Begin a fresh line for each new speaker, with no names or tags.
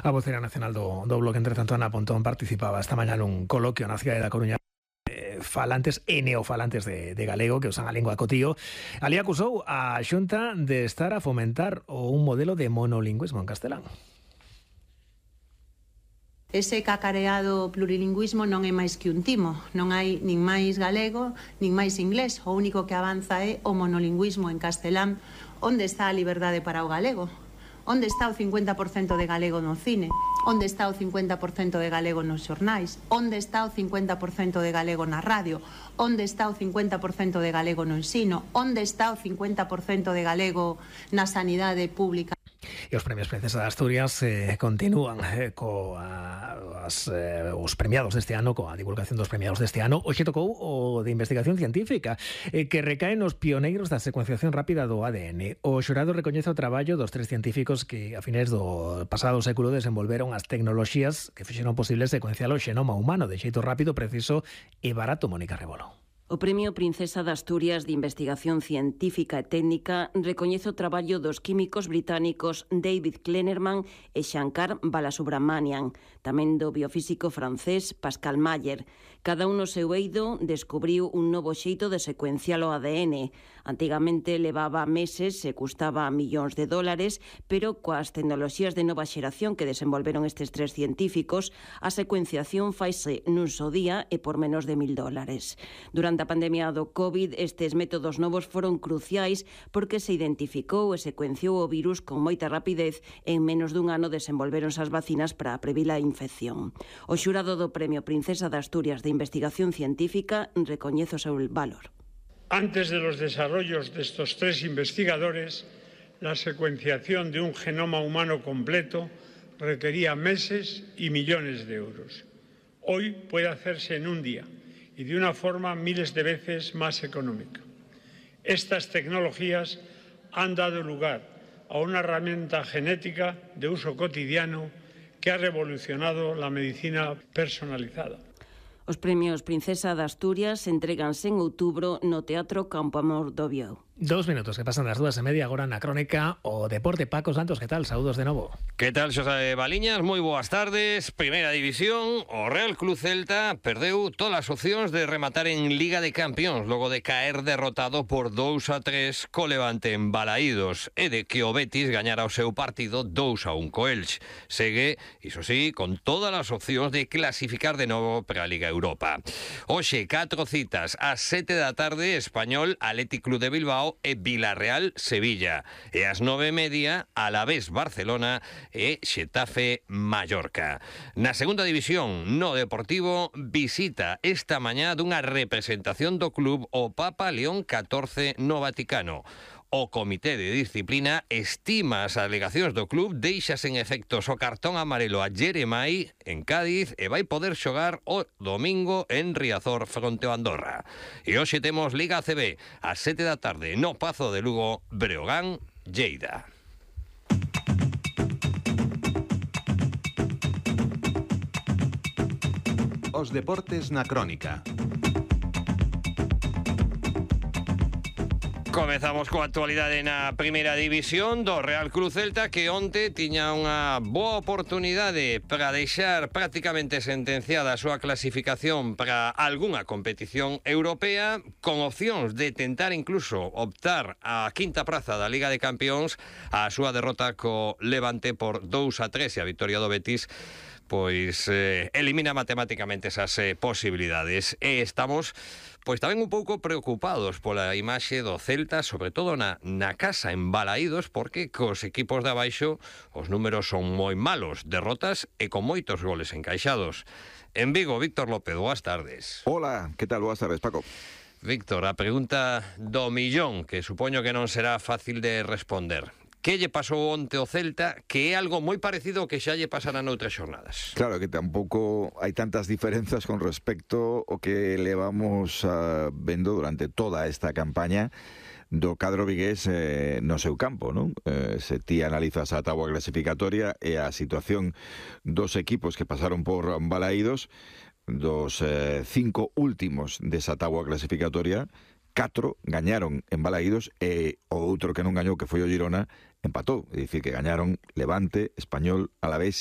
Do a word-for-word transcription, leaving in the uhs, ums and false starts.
A vocera nacional do, do Bloque, entre tanto, Ana Pontón, participaba esta mañá nun coloquio na cidade da Coruña eh, falantes e neofalantes de, de galego que usan a lingua cotío. Ali acusou a Xunta de estar a fomentar un modelo de monolingüismo en castelán.
Ese cacareado plurilingüismo non é máis que un timo. Non hai nin máis galego, nin máis inglés. O único que avanza é o monolingüismo en castelán. Onde está a liberdade para o galego? Onde está o cincuenta por cento de galego no cine? Onde está o cincuenta por cento de galego nos xornais? Onde está o cincuenta por cento de galego na radio? Onde está o cincuenta por cento de galego no ensino? Onde está o cincuenta por cento de galego na sanidade pública?
E os premios Princesa de Asturias eh, continúan eh, coas, eh, os premiados deste ano, coa divulgación dos premiados deste ano. Hoxe tocou o de investigación científica, eh, que recae nos pioneiros da secuenciación rápida do A D N. O xurado recoñece o traballo dos tres científicos que a finais do pasado século desenvolveron as tecnoloxías que fixeron posible secuenciar o xenoma humano de xeito rápido, preciso e barato. Mónica Rebolo.
O Premio Princesa de Asturias de Investigación Científica e Técnica recoñece o traballo dos químicos británicos David Klenerman e Shankar Balasubramanian, tamén do biofísico francés Pascal Mayer. Cada un no seu eido descubriu un novo xeito de secuenciar o A D N. Antigamente levaba meses e custaba millóns de dólares, pero coas tecnoloxías de nova xeración que desenvolveron estes tres científicos, a secuenciación faise nun só día e por menos de mil dólares. Durante a pandemia do COVID, estes métodos novos foron cruciais porque se identificou e secuenciou o virus con moita rapidez e en menos dun ano desenvolveronse as vacinas para previr a infección. O xurado do Premio Princesa de Asturias de Investigación Científica recoñece o seu valor.
Antes de los desarrollos de estos tres investigadores, la secuenciación de un genoma humano completo requería meses y millones de euros. Hoy puede hacerse en un día y de una forma miles de veces más económica. Estas tecnologías han dado lugar a una herramienta genética de uso cotidiano que ha revolucionado la medicina personalizada.
Os premios Princesa de Asturias entréganse en outubro no Teatro Campo Amor do Biou.
Dos minutos que pasan das dúas e media agora na crónica o deporte. Paco Santos, que tal? Saúdos de novo.
Que tal, Xosé Baliñas? Moi boas tardes. Primeira división, o Real Club Celta perdeu todas as opcións de rematar en Liga de Campións logo de caer derrotado por dous a tres co Levante en Balaídos e de que o Betis gañara o seu partido dous a un co Elche. Segue, iso sí, con todas as opcións de clasificar de novo para a Liga Europa. Hoxe, catro citas ás sete da tarde, Español, Athletic Club de Bilbao e Villarreal Sevilla, e ás nove e media Alavés Barcelona e Xetafe Mallorca. Na segunda división, no Deportivo, visita esta mañá dunha representación do club o Papa León catorce no Vaticano. O Comité de Disciplina estima as alegacións do club, deixa sen efectos o cartón amarelo a Jeremai en Cádiz e vai poder xogar o domingo en Riazor fronte ao Andorra. E hoxe temos Liga A C B ás sete da tarde no Pazo de Lugo, Breogán, Lleida.
Os deportes na crónica.
Comezamos coa actualidade na primeira división do Real Club Celta, que onte tiña unha boa oportunidade para deixar prácticamente sentenciada a súa clasificación para algunha competición europea, con opcións de tentar incluso optar á quinta praza da Liga de Campións. A súa derrota co Levante por dous a tres e a victoria do Betis pois eh, elimina matemáticamente esas eh, posibilidades. E estamos pois tamén un pouco preocupados pola imaxe do Celta, sobre todo na, na casa en Balaídos, porque cos equipos de abaixo os números son moi malos, derrotas e con moitos goles encaixados. En Vigo, Víctor López, boas tardes.
Hola, que tal? Boas tardes, Paco.
Víctor, a pregunta do millón, que supoño que non será fácil de responder. Que lle pasou onte o Celta, que é algo moi parecido ao que xa lle pasará noutras xornadas?
Claro que tampouco hai tantas diferenzas con respecto ao que levamos uh, vendo durante toda esta campaña do cadro vigués eh, no seu campo, non? Eh, se ti analizas a táboa clasificatoria e a situación dos equipos que pasaron por Balaídos, dos eh, cinco últimos desa táboa clasificatoria, catro gañaron en Balaídos e o outro que non gañou, que foi o Girona, empatou. É dicir, que gañaron Levante, Español, Alavés